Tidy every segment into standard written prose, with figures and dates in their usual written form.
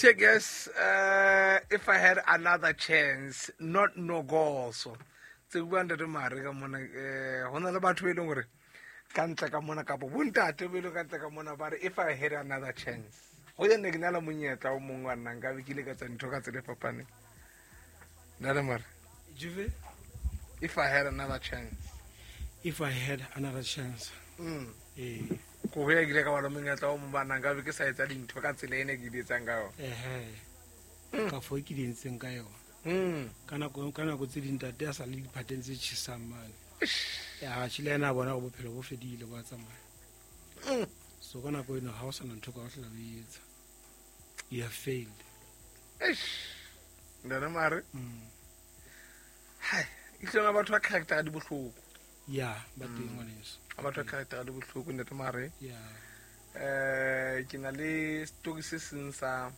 Tears If I Had Another Chance, not no goso. Tse bua ntate Mare ka mona, go na le batho ba e leng gore ka ntle ka mona, kapo bontate ba e leng ka ntle ka mona, ba re if I had another chance, go ja nne ke na le monyetla o mongwe wa nnang ka be ke ile ka tsa ntho ka tsela e fapaneng. Ntate Mare. Juve. If I had another chance. If I had another chance. Ko go ya ke ile ka ba le monyetla o mongwe ba nnang ka be ke sa etsa dintho ka tsela e ne ke di etsang ka yona. Ehe. Ka fo ke di entseng ka yona. Ka nako tse ding ntate a sa le diphateng tse tjhesang mane. Ya tjhile, ena a bona gore bophelo bo fedile, bo a tsamaya. So ka nako eno ha o sana ntho ka o hlola o e etsa. You have failed. Eish. Ntate Mare. Hai, itlhong batho ba character di bohloko. Ya, ba teng, ngwaneso. A batho ba character di bohloko, ntate Mare. Ke na le story se seng sa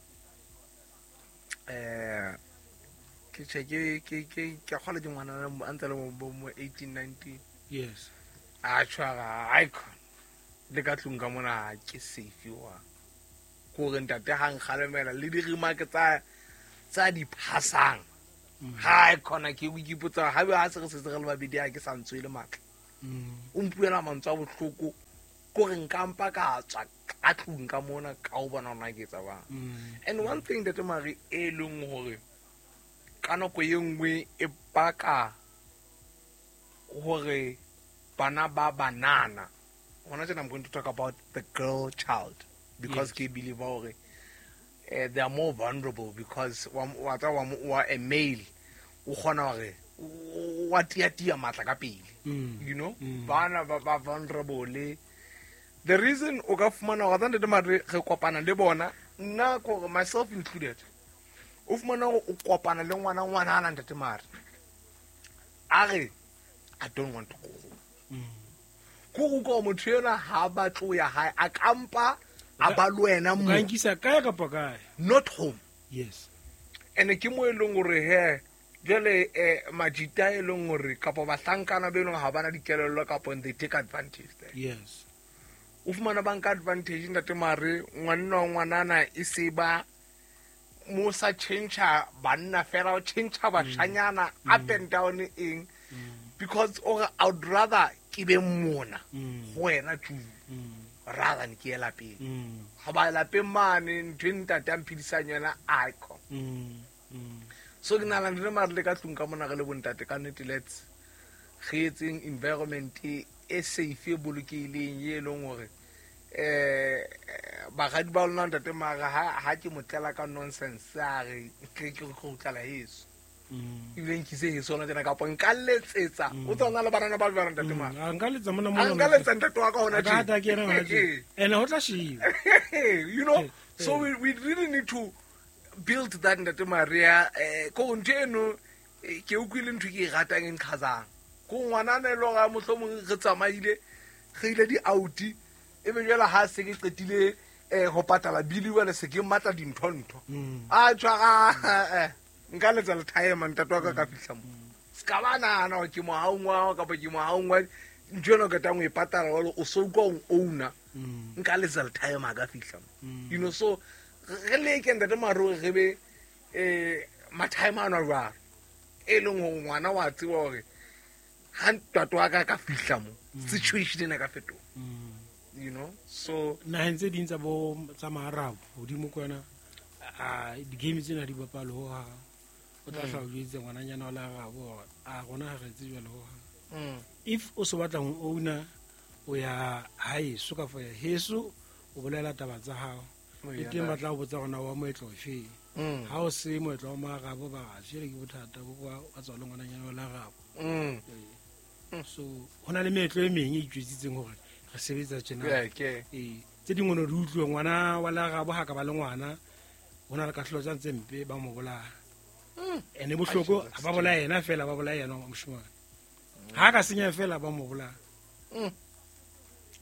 ke che ke kgola ke ngwana a ntse le mo 18 19. A tshwara icon le ka tlung ka mona ke safe wa ko re ntate ha nkgalemela le di-remark tsa di phasang ha e khona ke o ipotsa ha be ha se re setse re le babedi, ha ke sa ntswe le matla. O mpuela mantswe a bohloko ko re nkampa ka tswa ka tlung ka mona ka o bona hore na ke etsa bang. And one thing, ntate Mare, e leng hore ka nako e nngwe e baka hore bana ba banana hona tjena, I'm going to talk about the girl child because ke believe hore they are more vulnerable because wa tseba wa a male o kgona hore wa tia-tia matla ka pele. Bana ba vulnerable. The reason o ka fumana hore ntate Mare re kopana le bona, nna ko myself included, o fumana hore o kopana le ngwana ngwanana, ntate Mare, a re I don't want to go home. Ko go utlwa motho enwa ha batle ho ya hae, a kampa a ba le wena O mo ka nkisa kae kapa kae. Not home. And ke mo e leng hore he jwale majita e leng hore kapa bahlankana be leng ha bana dikelello kapa they take advantage there. O fumana ba nka advantage, ntate Mare, ngwanna wa ngwanana e se ba mo sa change banna fela, o change bashanyana up and down eng, because or I would rather ke be mona go wena tu rather than ke ye lapeng. Ga ba lapeng mane ntho e ntate a mphedisang yona icon. So ke nahana le mare le ka tlung ka mona re le bontate ka nnete, let's re etseng environment e safe, e bolokehileng, e leng hore baradi ba lona, ntate Mara, ha ke mo tlela ka nonsense a re ke go tlala heso, ebile nkise heso hona tjena kapa nka letsetsa o tswa na le banana ba jwang, ntate Mara. A nka letsa mona. A Mona. Nka letsa ntate wa ka hona. A ka hata ke yena hona tje. Ene ho tla shiwa. So we really need to build that, ntate Maria, ko ntho eno ke utlwile ntho ke e ratang e nqhazang ko ngwanana e le hore mohlomong re tsamaile re ile di-out, e be jwale ha se ke qetile ho patala bili, jwale se ke matla dintho-ntho a tshwara nka letsa lethayema ntate wa ka ka fihla mo se ka ba nahana hore ke mohaung wa hao kapa ke mohaung wa ntho ena o qetang ho e patala jwale o so utlwa o owner, nka letsa lethayema a ka fihla mo. So re leke, ntate Maro, re be mathaema ano a jwalo e leng hore ngwana wa tseba hore ha ntate wa ka ka fihla mo situation ena ka fetoha. So Naheng tse ding tsa bo tsa maarabo hodimo kwana, a di-game tsena di bapale ho hang. O tla hla o jwetse ngwananyana wa lerabo hore a rona ha re etse jwalo ho hang. If o so batla ho owner, o ya haeso kapa ya heso, o bolela taba tsa hao. Le teng ba tla o botsa hore na wa moetlo ofeng. Ha o se moetlo wa maarabo, ba re jele ke bothata bo wa tswa le ngwananyana wa lerabo. So ho na le meetlo e meng e itjwetsitseng hore re sebetsa tjena. Ee, tse dingwe no di utlwe ngwana wa lerabo ha ka ba le ngwana, ho na le kahlolo tsa tse mpe, ba mo bolaya. Ene bohloko ha ba bolaya yena fela, ba bolaya yena wa moshemane ha ka senya fela, ba mo bolaya.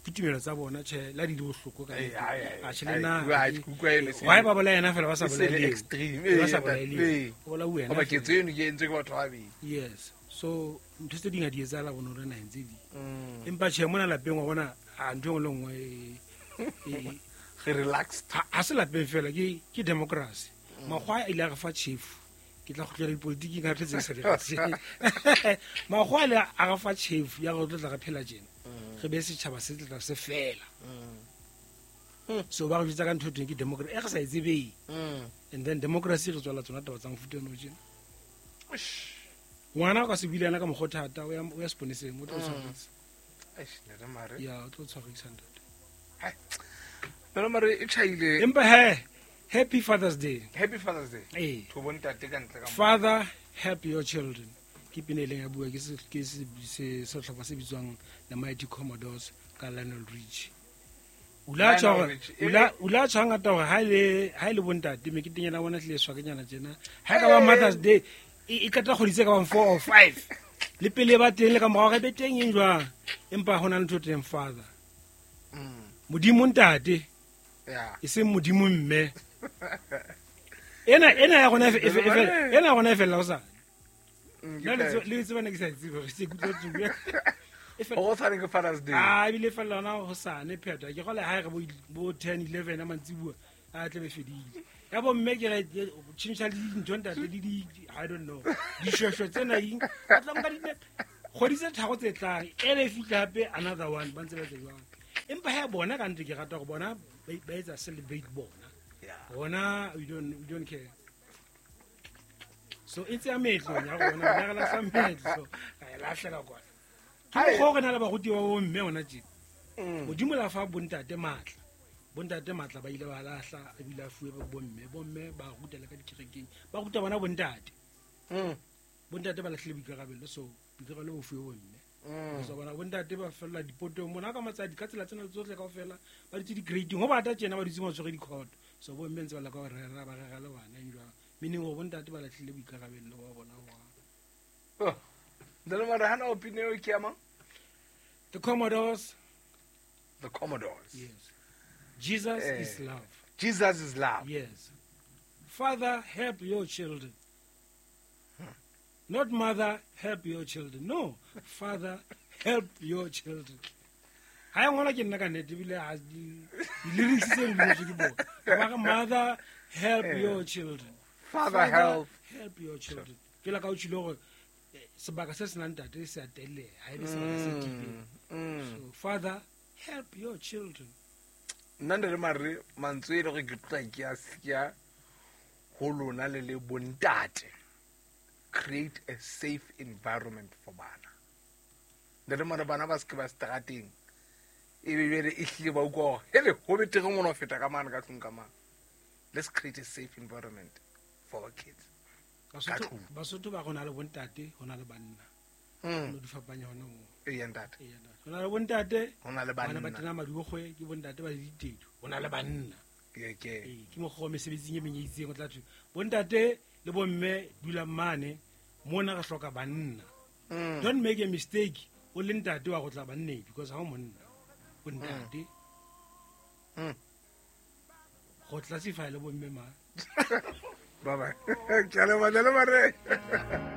Ke tumelo tsa bona, tjhe, la di di bohloko ka Ee, nnete. ai, ai, A tjhe, le ai, nna ai, ke utlwa eno why ba bolaya yena fela, ba sa e se le bolaye leo? extreme, Ba sa ee, bolaye leo. O bolauwe yena Hoba fela. ketso eno ke entswe ke batho ba babedi. Yes, so ntho tse ding ha di etsahala bonolo naheng tse ding, empa tjhe, mona lapeng wa bona a ntho e nngwe le nngwe. Re relaxed. Ha se lapeng fela ke democracy. Makgwa a ile a re fa tjhefu. Ke tla kgutlela dipolitiking ka tse sa di rate. Makgwa a ile a re fa tjhefu ya re tlo tla re phela tjena. Re be setjhaba se tla se fela. So ba re jwetsa ka ntho e teng ke democracy e re sa e tsebeng. And then democracy re tswala tsona taba tsa mofuta ono tjena. Ngwana o ka se buile yena ka mokgwa o thata o ya seponeseng o tlo tshwarisa. Eish, Ntate Mare. Ya, o tlo tshwarisa ntate. Ntate Mare e tjhaile. Empa he, Happy Father's Day. Happy Father's Day. Ee. To bontate ka ntle ka mo. Father, help your children. Ke pina e leng ya bua ke sehlopha se bitswang The Mighty Commodores ka Lionel Richie. O la tjho Lionel hore- Richie. o la tjho hangata hore ha e le bontate meketeng ya bona tlile swakenyana tjena. Ha e ka ba Mother's Day e qeta kgwedi tse ka bang 4 or 5. Le pele ba teng le ka morao re be teng eng jwang. Empa hona le ntho e teng father. Modimo ntate. E seng modimo mme. Ena ya rona ena ya rona e fella hosane. Nna le tseba ne ke sa e tsebe, re se ke utlwa tsubu. E fella- Ho tshwane ke Father's Day. Ah, ebile e fella hona hosane phetho. Ke kgolwa ha e re bo 10, 11 a mantsibuya, a tla be fedile. Ya bo mme ke re, tjhentjha le dintho ntate, le di, I don't know. Dishweshwe tsena eng? Ba tla nka kgwedi tse tharo tse tlang, e le fihla hape another one, ba ntse ba etsa jwalo. Empa ha bona ka nnete ke rata hore bona ba etsa celebrate bona. Rona, we don't care. So e tseya meetlo ya rona, rona re lahla meetlo, ra e lahlela kwana. Ke mokgwa o re na le baruti ba bo mme hona tje. Modimo la fa bontate matla. Bontate matla ba ile ba lahla, ebile a fuwe bomme. Bomme ba ruta le ka dikerekeng. Ba ruta bona bontate. Bontate ba lahlile boikarabelo, so boikarabelo bo fuwe bomme. So bona bontate ba fella dipotong mona ka matsadi ka tsela tsena tsohle kaofela, ba dutse di-grading. Ho bata tjena ba dutse ba tshwere dikhoto. So bomme ntse ba leka ho rera, ba rera le bana eng jwang. Meaning hore bontate ba lahlile boikarabelo ba bona ho hang. Oh. Ntate Mare, hana opinion eo ke ya mang? The Commodores. The Commodores. Yes. Jesus is love. Jesus is love. Yes. Father, help your children. Not mother, help your children. No. Father, help your children. Ha e ngolwa ke nna ka nnete, ebile ha di-lyrics tse di ngotswe ke bona. Ba re, mother, help your children. Father, Father, help. help your children. Ke la ka o tjhile hore, sebaka se senang ntate se a telleha, ha e be sebaka se tiileng. So, father, help your children. Nna Ntate Mare, mantswe e le gore ke tla ke a siya ho lona le le bontate. Create a safe environment for bana. Ntate Mare, bana ba se ke ba strateng. E be bjale e hlile ba utlwa hore, hele, ho betere ngwana ho feta ka mane ka tlung ka mane. Let's create a safe environment for our kids. Ka tlung. Basotho ba rona le bontate, ho na le banna. No di fapanya hona moo. Ee, ntate. Ee, ntate. Ho na le bontate, Ho na le bana ba banna. tena madikgwe, ke bontate ba le ditedu. Ho na le banna. Ke, ke. Ee, ke mokgwa wa mesebetsing e meng e itseng o tla thwe, bontate le bomme dulang mane, mona re hloka banna. Don't make a mistake, o le ntate wa go tla banneng, because ha o monna. O ntate. Go classify le bomme mang. Bye bye. Ke a leboha, Ntate Mare.